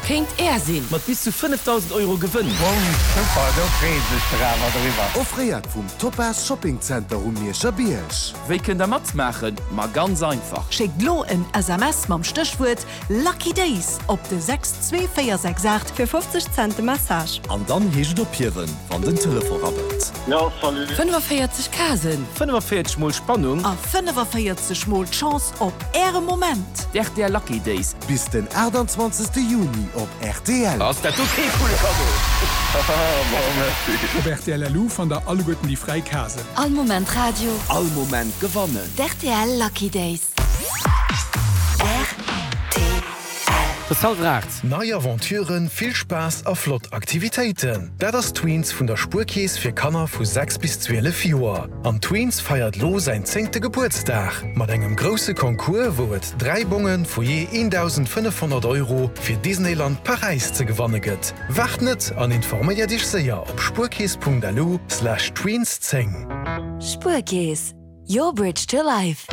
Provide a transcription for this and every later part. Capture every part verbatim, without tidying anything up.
Kéint Är sinn! Mat bis zu fënnefdausend Euro Gewënn! Super, do freeë sech der awer driwwer. Offréiert vum Topaz Shopping Center um Mierscher Bierg. Wéi kënnt der matmaachen? Ma ganz einfach! Schéckt lo en S M S mam Stéchwuert Lucky Days op de sechs zwee véier sechs aacht. Fir fofzeg Cent de Message. An dann heescht et ophiewen, wann den Telefon rabbelt. Jo, salut. fënnefenvéierzeg Casen. fënnefenvéierzeg mol Spannung. A fënnefenvéierzeg mol d'Chance op äre Moment. D'R T L Lucky Days. Bis den aachtanzwanzegste Juni op R T L. Ass dat do kee coole Cadeau? Bon, merci. Op R T L L U fannt der alleguerten déi fräi Casen. All Moment Radio. All Moment gewannen. D R T L Lucky Days. R T L. Et ass hallwer aacht. Nei Aventuren, vill Spaass a flott Aktivitéiten. Dat ass Tweens vun der Spuerkeess fir Kanner vu sechs bis zwielef Joer. An Tweens feiert lo säin zéngte Gebuertsdag mat engem grousse Concours, wou et dräi Bonge vu jee dausendfënnefhonnert Euro fir Disneyland Paräis ze gewanne gëtt. Waart net an informéier dech séier op spuerkeess Punkt L U Slash Tweens zéng. Spuerkeess, your bridge to life.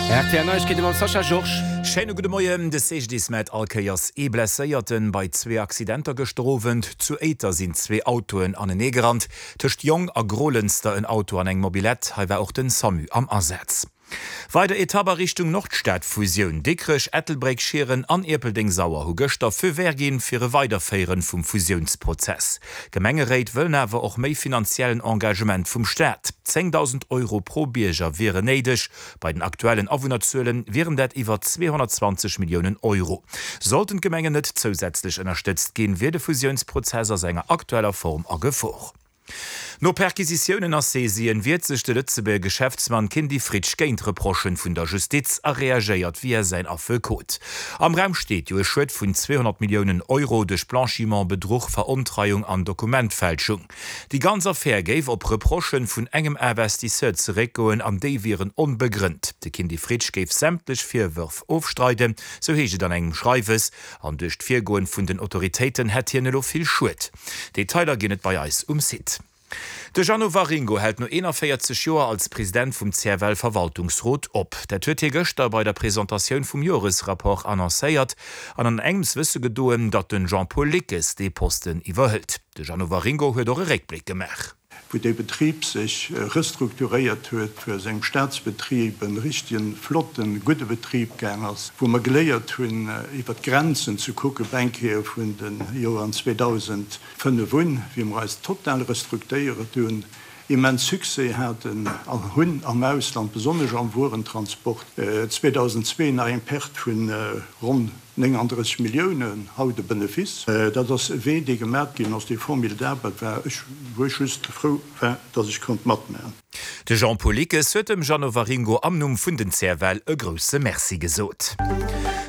R T L Neiegkeete mam Sascha Georges. Schéine gudde Moien. De C G D I S mellt all Kéiers ee Blesséierten bei zwee Accidenter gëschter Owend. Zu Éiter sinn zwee Autoen aneneegerannt. Tëscht Jong a Grolënster en Auto an eng Mobilette. Hei war och den SAMU am Asaz. Weider Etapp a Richtung Nordstad-Fusioun. Dikrech, Ettelbréck, Schieren an Ierpeldeng-Sauer hu gëschter Feu vert ginn fir e Weiderféieren vum Fusiounsprozess. Gemengeréit wëllen awer och méi finanziellen Engagement vum Staat. zéngdausend Euro pro Bierger wieren néideg. Bei den aktuellen Awunnerzuelen wieren dat iwwer zweehonnertzwanzeg Milliounen Euro. Sollten d'Gemengen net zousätzlech ënnerstëtzt ginn, wier de Fusiounsprozess a senger aktueller Form a Gefor. No Perquisitiounen a Saisien wiert sech de Lëtzebuerger Geschäftsmann Kindy Fritsch géint Reprochen vun der Justiz a reagéiert via säin Affekot. Am Raum steet jo e Schued vun zweehonnert Milliounen Euro duerch Blanchiment, Bedruch, Verontreiung an Dokumentfälschung. Déi ganz Affär géif op Reprochen vun engem Investisseur zeréckgoen an déi wieren onbegrënnt. De Kindy Fritsch géif sämtlech Virwërf ofstreiden, sou heescht et an engem Schreiwes, an duerch d'Virgoen vun den Autoritéiten hätt hien elo vill Schued. Detailer ginn et bei eis um Site. De Jeannot Waringo hält no eenanvéierzeg Joer als President vum C F L-Verwaltungsrot op. Dat huet hie gëschter bei der Presentatioun vum Joresrapport annoncéiert an an engems wësse gedoen, datt den Jean-Paul Lickes dee Posten iwwerhëlt. De Jeannot Waringo huet och e Réckbléck gemaach. Wou de Betrib sech restrukturéiert huet, wou aus engem Staatsbetrib e richtegen, flotten, gudde Betrib ginn ass, wou mer geléiert hunn, iwwer d'Grenzen ze kucken, eng Kéier vun de Joren zweedausendfënnef un, wéi mer eis total restrukturéiert hunn, immens Succès haten an hunn am Ausland, besonnesch am Wuerentransport, zweedausendzwee nach eng Perte vun ronn néngandrësseg Milliounen, haut e Benefice. Dat ass e Wee, dee gemat ginn ass, dee formidabel war, ech wou ech just frou war, datt ech konnt matmaachen. De Jean-Paul Lickes huet dem Jeannot Waringo am Numm vun den C F L e grousse Merci gesot.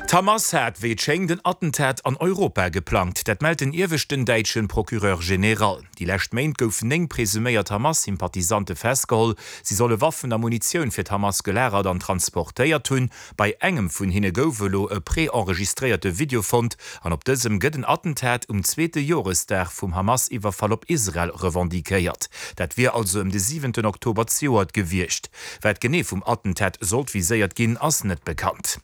D'Hamas hat, wéi et schéngt, en Attentat an Europa geplangt. Dat mellt den ieweschten däitsche Procureur général. Déi lescht Méint goufen néng presuméiert Hamas-Sympathisante festgeholl. Si solle Waffen a Munitioun fir d'Hamas gelagert an transportéiert hunn. Bei engem vun hinne gouf elo e pre-enregistréierte Video fonnt an op dësem gëtt en Attentat um zweete Joresdag vum Hamas-Iwwerfall op Israel revendiquéiert. Dat wier also ëm de siwenten Oktober zejoert gewiescht. Wat genee vum Attentat sollt viséiert ginn, ass net bekannt.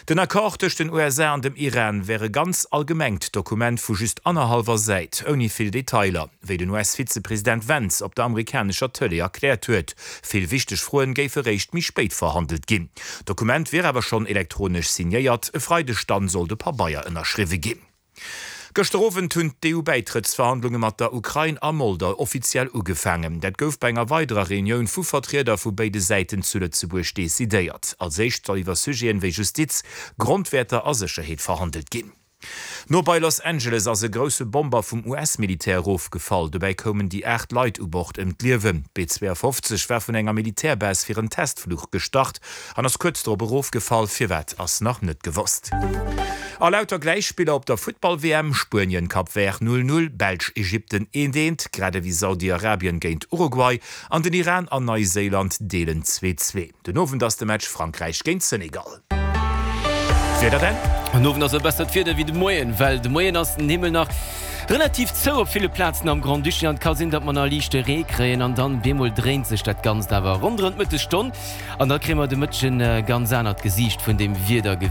Den Accord tëscht den U S A an dem Iran wär e ganz allgemengt Dokument vu just annerhallwer Säit, ouni vill Detailer, wéi den U S-Vizepresident Vance op der amerikanescher Tëlee erkläert huet. Vill wichteg Froen géife réischt méi spéit verhandelt ginn. D'Dokument wier awer schonn elektronesch signéiert, e Freideg dann soll de Pabeier ënnerschriwwe ginn. Gëschter Owend hunn d'E U-Bäitrëttsverhandlunge mat der Ukrain a Moldau offiziell ugefaangen. Dat gouf bei enger weiderer Reunioun vu Vertrieder vu béide Säiten zu Lëtzebuerg decidéiert. Als éischt soll iwwer Sujeten wéi Justiz, Grondwäerter a Sécherheet verhandelt ginn. No bei Los Angeles ass e grousse Bomber vum U S-Militär erofgefall. Dobäi koumen déi aacht Leit u Bord ëm d'Liewen. D'B zwouafofzeg war vun enger Militärbase fir en Testfluch gestart an ass kuerz drop erofgefall. Firwat ass nach net gewosst. A lauter Gläichspiller op der Futtball-W M, Spuenien, Cap Vert null null, Belsch, Ägypten eent eent, grad ewéi Saudi-Arabien géint Uruguay an den Iran an Neiséiland deelen zwee zwee. Den Owend ass de Match Frankräich géint Senegal. D'Wieder dann? Den Owend ass e bessert Wieder wéi de Moien, well de Moien ass den Himmel nach relativ zou op ville Plazen am Grand-Duché an et ka sinn, datt mer nach liichte Ree kréien an dann bemol dréint sech dat Ganzt awer ronderëm d'Mëttesstonn an da kréie mer de Mëtteg e ganz anert Gesiicht vun dem Wieder gewisen.